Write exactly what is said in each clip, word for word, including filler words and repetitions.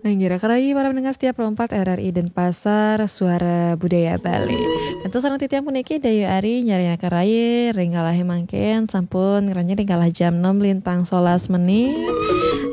Inggih raka rayi para pendengar setia Pro empat R R I Denpasar, Suara Budaya Bali. Tentu sareng titiang puniki Dayu Ari nyarengin raka rayi ring galahé mangkin sampun ngranjing ring galah jam enam lintang solas menit.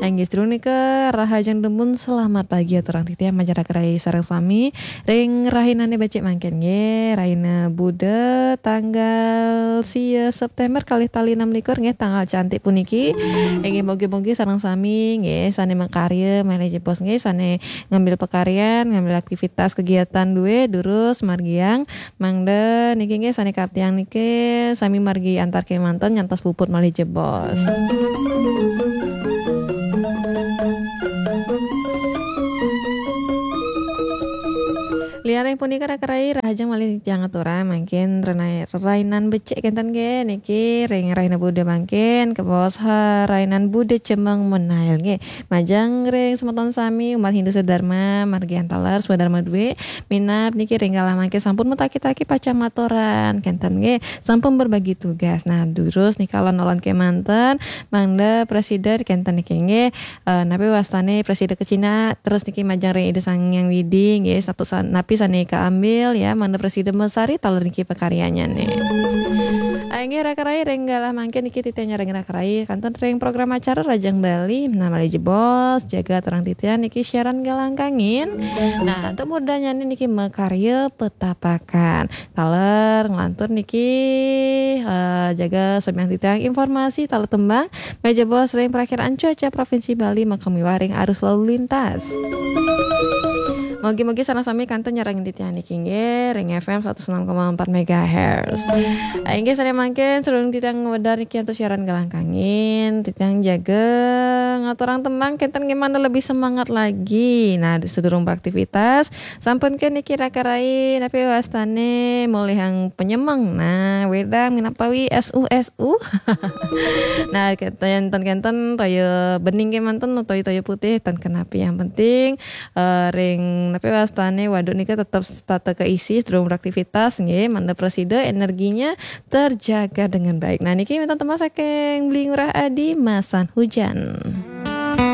Inggih sadurung nika rahajeng dumun selamat pagi aturang titiang majeng raka rayi sareng sami ring rahinané becik mangkin nggih, rahina Buda tanggal sia September kalih tali enam likur nggih, tanggal cantik puniki. Inggih mugi-mugi sareng sami nggih sané makarya malih jebos nggih, sané ngambil pakaryan, ngambil aktivitas kegiatan duwé durus margiang mangda niki nggih sané kaptiang niki sami margi antar kémanten nyantos puput malih jebos. Lianing punika raka rayi rahajeng malih titiang aturang mangkin renai-, rerainan becik kénten nggih niki ring rahina Buda mangkin kabaos ha rainan Buda Cemeng Menail nggih. Majeng ring semeton sami umat Hindu sedharma margi antaler swadharma duwé minab niki ring galah mangkin sampun mataki-taki pacang maturan kénten nggih. Sampun berbagi tugas. Nah, durus nika alon-alon kémanten mangda prasida kénten niki nggih. Eh, napi wastané prasida ka Cina, terus niki majeng ring Ida Sang Hyang Widi, nggih, satu sa-, napi sané kaambil, ya, mangda prasida masari taler niki pakaryanyané. Ah, inggih, raka rayi, ring galah mangkin niki titiang nyarengin raka rayi, kantun ring program acara Rajang Bali, malih jebos, jaga aturang titiang niki siaran galah kangin. Nah, antuk murdanyané niki makarya petapakan. Taler nglantur niki, eh, jaga samian titiang informasi taler tembang, malih jebos ring prakiraan cuaca Provinsi Bali, makamiwah ring arus lalu lintas. Mugi-mugi sareng sami kantun nyarengin titiang niki nggih ring F M seratus enam koma empat megahertz. Ah, inggih sané mangkin sadurung titiang ngwedar niki antuk siaran galah kangin, titiang jaga ngaturang tembang kénten nggih mangda lebih semangat lagi. Nah, sadurung beraktivitas, sampun ké niki raka rayi, napi wastané molihang penyemeng. Nah, wédang minab tawi S U S U. Nah, kénten, kénten toya bening kémanten, toya-toya putih, ten kenapi. Yang penting, eh, ring napi wastané waduk nika tetep tata keisi, durung beraktivitas, nggih, mangda prasida energinya terjaga dengan baik. Nah, niki wénten tembang saking Beli Ngurah Adi, Masan Hujan.